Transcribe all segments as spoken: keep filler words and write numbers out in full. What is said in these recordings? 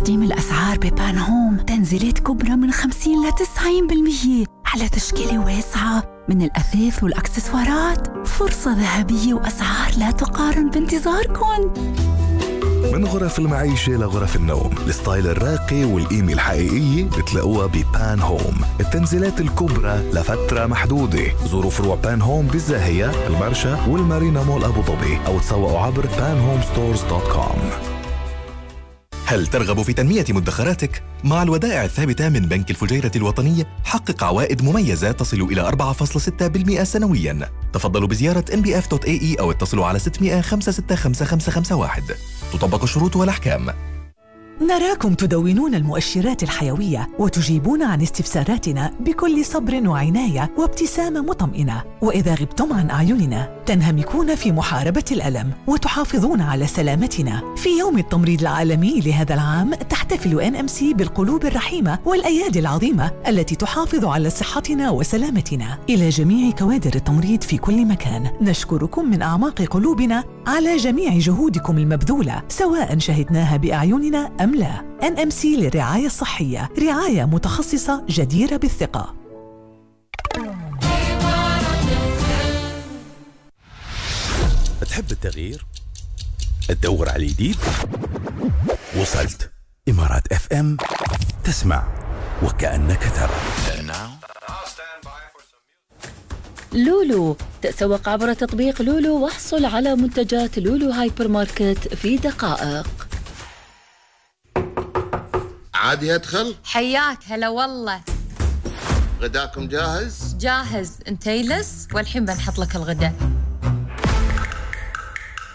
تقديم الأسعار ببان هوم تنزيلات كبرى من خمسين لتسعين بالمية على تشكيلة واسعة من الأثاث والأكسسوارات. فرصة ذهبية وأسعار لا تقارن بانتظاركم. من غرف المعيشة لغرف النوم، الستايل الراقي والقيمة الحقيقية بتلاقوها ببان هوم. التنزيلات الكبرى لفترة محدودة. زوروا فروع بان هوم بالزاهية، المرشا والمارينا مول أبو ظبي، أو تسوقوا عبر بان هوم ستورز دوت كوم. هل ترغب في تنمية مدخراتك؟ مع الودائع الثابتة من بنك الفجيرة الوطنية حقق عوائد مميزة تصل إلى أربعة فاصلة ستة بالمئة سنوياً. تفضلوا بزيارة إن بي إف دوت إيه إي أو اتصلوا على ستمئة خمسة ستة خمسة خمسة خمسة واحد. تطبق الشروط والأحكام. نراكم تدونون المؤشرات الحيوية وتجيبون عن استفساراتنا بكل صبر وعناية وابتسامة مطمئنة، وإذا غبتم عن أعيننا تنهمكون في محاربة الألم وتحافظون على سلامتنا. في يوم التمريض العالمي لهذا العام تحتفل إن إم سي بالقلوب الرحيمة والأيادي العظيمة التي تحافظ على صحتنا وسلامتنا. إلى جميع كوادر التمريض في كل مكان، نشكركم من أعماق قلوبنا على جميع جهودكم المبذولة، سواء شهدناها بأعيننا أم لا. إن إم سي للرعاية الصحية، رعاية متخصصة جديرة بالثقة. تحب التغيير؟ تدور على الجديد؟ وصلت إمارات اف ام، تسمع وكأنك ترى. لولو، تسوق عبر تطبيق لولو واحصل على منتجات لولو هايبر ماركت في دقائق. عادي أدخل؟ حياك هلا والله. غداكم جاهز؟ جاهز، انت يلس والحين بنحط لك الغداء.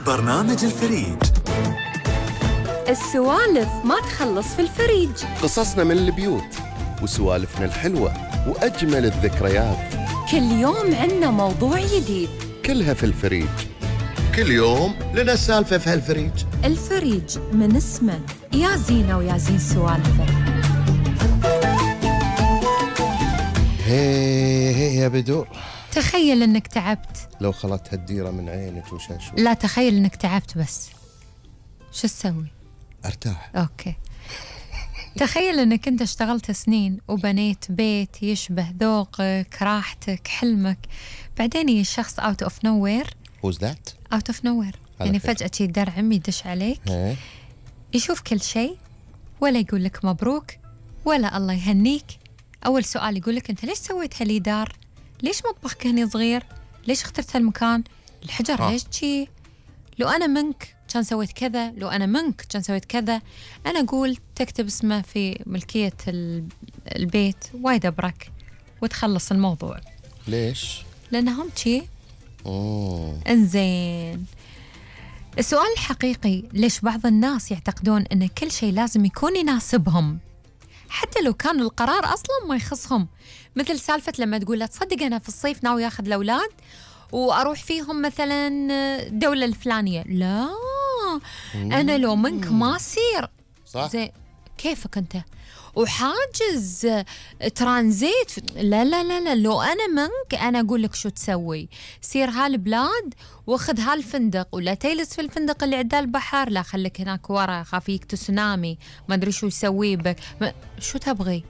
برنامج الفريج. السوالف ما تخلص في الفريج. قصصنا من البيوت وسوالفنا الحلوة وأجمل الذكريات. كل يوم عنا موضوع جديد، كلها في الفريج. كل يوم لنا سالفة في هالفريج. الفريج من اسمه يا زينة ويا زين سوالفه. هي هي يا بدور، تخيل انك تعبت. لو خلت هالديرة من عينك وشاشو. لا، تخيل انك تعبت بس شو تسوي؟ ارتاح. اوكي. تخيل انك انت اشتغلت سنين وبنيت بيت يشبه ذوقك، راحتك، حلمك، بعدين يجي الشخص out of nowhere. Who's that? out of nowhere يعني فجأة شي دار عمي يدش عليك، هي. يشوف كل شيء ولا يقول لك مبروك ولا الله يهنيك. أول سؤال يقول لك أنت ليش سويت هاللي دار؟ ليش مطبخك هني صغير؟ ليش اخترت هالمكان؟ الحجر آه. ليش شي؟ لو أنا منك كان سويت كذا، لو أنا منك كان سويت كذا. أنا أقول تكتب اسمه في ملكية البيت وايد أبرك وتخلص الموضوع. ليش؟ لأنهم شي. أوه. إنزين، السؤال الحقيقي ليش بعض الناس يعتقدون أن كل شيء لازم يكون يناسبهم حتى لو كان القرار أصلاً ما يخصهم؟ مثل سالفة لما تقول لا تصدق أنا في الصيف ناوي أخذ الأولاد وأروح فيهم مثلاً دولة الفلانية. لا، أنا لو منك ما أصير. صح؟ زي كيفك أنت وحاجز ترانزيت. لا لا لا لا، لو أنا منك أنا أقول لك شو تسوي. سير هالبلاد واخذ هالفندق، ولا تجلس في الفندق اللي عدى البحر، لا خليك هناك ورا خافيك تسونامي ما أدري شو يسوي بك. شو تبغي؟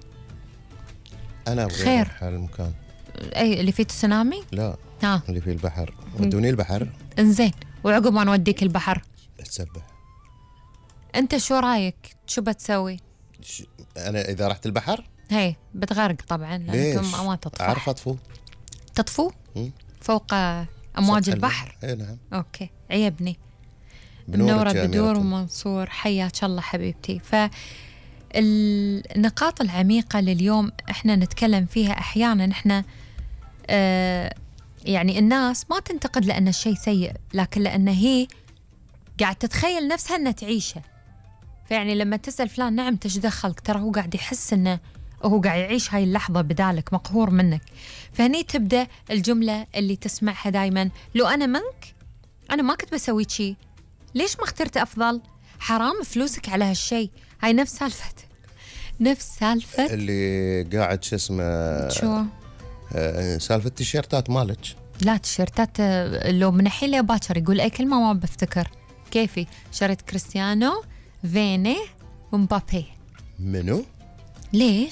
أنا أبغي خير. أروح هالمكان. أي اللي فيه تسونامي؟ لا، ها. اللي فيه البحر. ودوني البحر. إنزين، وعقب ما نوديك البحر أتسبح. أنت شو رأيك؟ شو بتسوي؟ ش... أنا إذا رحت البحر هي بتغرق طبعا لأنكم ما تطفو. أعرف أطفو. تطفو؟ فوق أمواج البحر. إيه نعم. أوكي، عيبني. منورة بدور ومنصور، حياك الله حبيبتي. فالنقاط العميقة لليوم إحنا نتكلم فيها أحيانا إحنا آه يعني الناس ما تنتقد لأن الشيء سيء، لكن لأن هي قاعد تتخيل نفسها أنها تعيشه. فيعني لما تسأل فلان نعم تش دخلك، ترى هو قاعد يحس أنه هو قاعد يعيش هاي اللحظة بدالك، مقهور منك. فهني تبدأ الجملة اللي تسمعها دايما، لو أنا منك أنا ما كنت بسوي شي. ليش ما اخترت أفضل؟ حرام فلوسك على هالشي. هاي نفس سالفة نفس سالفة اللي قاعد شو اسمه شو آه سالفة التيشيرتات مالك. لا، تيشيرتات لو من الحين لباكر يقول أي كلمة ما بفتكر. كيفي شريت كريستيانو، فيني، ومبابي. منو؟ ليش؟